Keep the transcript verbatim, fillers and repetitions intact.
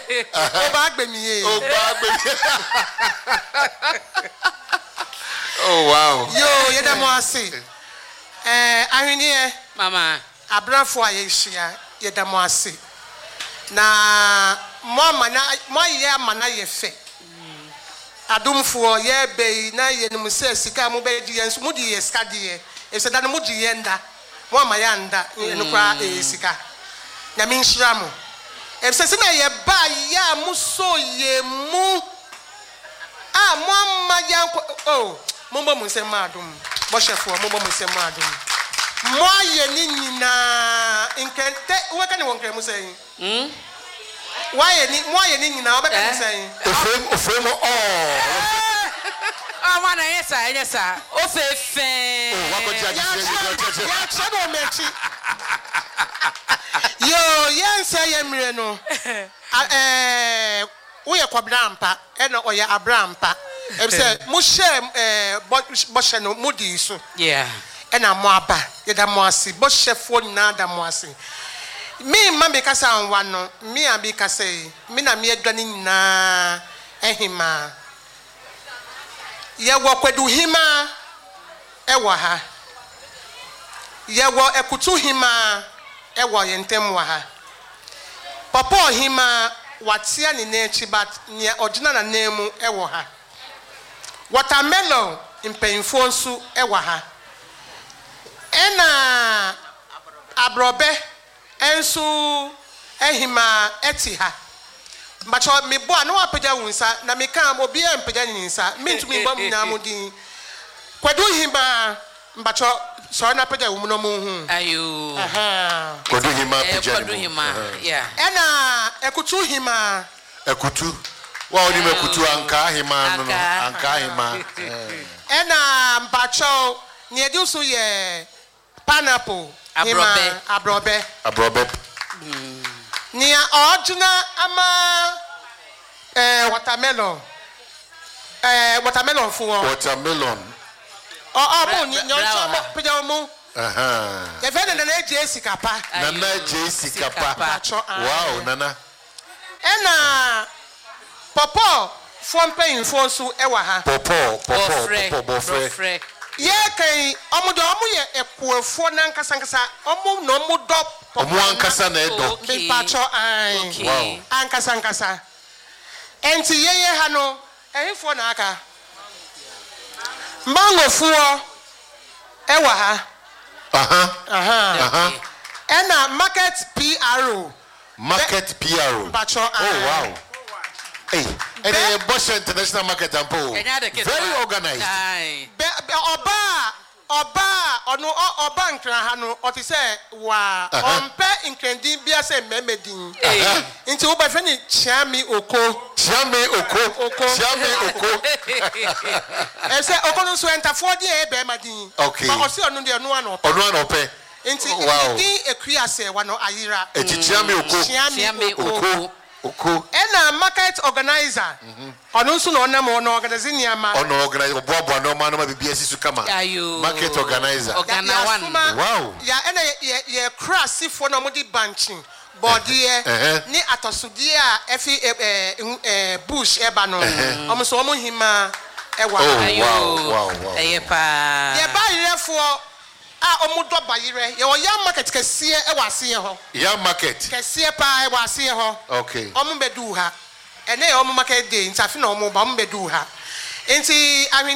Oba agbemi. Oba agbemi. Oh wow. Yo, yɛda mo ase. Ɛɛ ahweneɛ. Mama. Abrafo a yɛhyia, yɛda mo ase. Na mo ama na mo ayɛ ama na yɛ fɛ. Adomfoɔ yɛbɛ yi na yɛnim sɛ sika a mobɛgye yɛn nso mode yɛ sika deɛ. Ɛfisɛ da no mogye yɛn da. Mo ama yɛ anda ɛno koraa ɛyɛ sika. Nyame nhyira mo. Ɛfisɛ sɛ na yɛba yɛ a mosɔ yɛ mu a mo ama yɛnkɔ oh mommɔ mo nsɛm ma adom. Bɔhyɛfoɔ, mommɔ mo nsɛm ma adom. Mo ayɛ ne nyinaa nkɛntɛ wobɛka ne wɔ nkrɛmu sɛn? Mm? Wayɛ ni mo ayɛ ne nyinaa wobɛka ne sɛn? Ofrem ofrem all. Ah, mana ɛnyɛ saa, ɛnyɛ saa. Ofe fɛn. Oh, wakɔgye agye. Yɛakyerɛ no wɔ m'akyi. Yo, yɛnsɛ yɛ mmerɛ no. A- ɛɛ, woyɛ kɔbena ampa ɛna ɔyɛ abra ampa. Ɛfisɛ mohyɛ ɛɛ bɔ bɔhyɛ no modii so. Yeah. Ɛna mo aba, yɛda mo ase. Bɔhyɛfoɔ nyinaa da mo ase. Me mma mi kasa nwa no, me a mi kasa yi, me na mi adwa ne nyinaa ɛhemaa. Yɛwɔ kwaduhemaa ɛwɔ ha. Yɛwɔ ɛkutuhemaa ɛwɔ yɛn ntam wɔ ha. Pɔpɔɔ hemaa watea ne nan akyi, but nea ɔgyina n'anan mu ɛwɔ ha. Watermelon mpanyinfoɔ nso ɛwɔ ha. Ɛna aborɔbɛ nso ɛhemaa ɛte ha. Mbakyɛ mebɔ a na wapagya wo nsa na meka obiara mpagya ne nsa, mentumi mbɔ mu nyinaa mo din. Kwadu hemaa, mbakyɛ sɔre na pagya wo mu na ɔmo hu. Ayo. Aha. Kwadu hima Eh, pagya Kwadu ne mu. hima. Yeah. Ɛna ɛkutu hemaa. Akutu. Wa onim akutu, anka hima no no. Ankaa. Anka hima. Ɛna mbakyɛw nea ɛdi so yɛ pineapple Aborɔbɛ. hemaa, aborɔbɛ. Aborɔbɛ. Nea ɔgyina ama ɛɛ watermelon, ɛɛ watermelon foɔ. Watermelon. Ɔ ɔmo ni Bra- nea bra ɔnkyɛn wɔ ɔmo ha. pagya ɔmo. Aha. Yɛfɛ ne Nana Egye Sikapa. Nana Ayo. J Sikapa. Mpakyɛ, aye. Wow, Nana. Ɛna pɔpɔ foɔ mpanyinfoɔ nso ɛwɔ ha. Pɔpɔ, pɔpɔ, Bɔfrɛ. pɔpɔ, bɔfrɛ. Bɔfrɛ. Yɛkɛn ɔmo de ɔmo yɛ ɛkuofoɔ nankasa ɔmo na ɔmo dɔ pɔpɔ. Ɔmo ankasa na ɛdɔ. Okay. Mpakyɛ, ae. Okay. Wow. Ankasa nkasa. Ɛnti yɛyɛ ha no, ɛhefoɔ na aka? Mangofoɔ ɛwɔ ha. Aha. Aha. Aha. Okay. Ɛna market P R O. Market P R O. Mpakyɛ, Oh, ae. wow. Hey, and then Bosha International Market ampo. Ɛnyɛ ade ketewa. Very organized. Aye. Bɛ bɛ ɔbaa ɔbaa ɔno ɔ- ɔba Nkran ha no, ɔte sɛ waa Aha. ɔmpɛ nkrandin bia sɛ mmarima din. Hey. Nti wobɛfrɛ ne Kyiame Oko. Chiame Oko. Oko. Chiame Oko. Ɛsɛ Oko no nso ɛntafoɔ deɛ ɛyɛ bɛrima din. Okay. Ba ɔse ɔno deɛ ɔno ano ɔpɛ. Ɔno ana ɔpɛ. Nti Wow. ne din Ekua sɛ wa no ayera. Eti Chiame Oko. Kyiame Kyiame Oko. Oko. Oko. Ɛna market organizer, ɔno nso na ɔnam hɔ na organize nneɛma. Ɔno organize, ɔboaboa nneɛma nneɛma bibi esi so kama. Ayo. Market organizer. Organa one. Yɛasoma- Wow. ya ɛna yɛ yɛ yɛkura asefoɔ na wɔde bankye, bɔɔdeɛ Ɛhɛ. ne atɔsodeɛ a ɛfi ɛ ɛ ɛ bush ɛba no, ɔmo nso ɔmo hima ɛwɔ Oh. ha. Ayo. Wow, wow, wow. Ɛyɛ paa. Yɛba ayerɛfoɔ a ɔmo dɔ bayerɛ, yɛwɔ yam market kɛseɛ ɛwɔ aseɛ hɔ. Yam market. Kɛseɛ paa ɛwɔ aseɛ hɔ. Okay. Ɔmo bɛdu ha. Ɛnɛ yɛ ɔmo market day nti afi na ɔmo ba, ɔmo bɛdu ha nti ahwenni.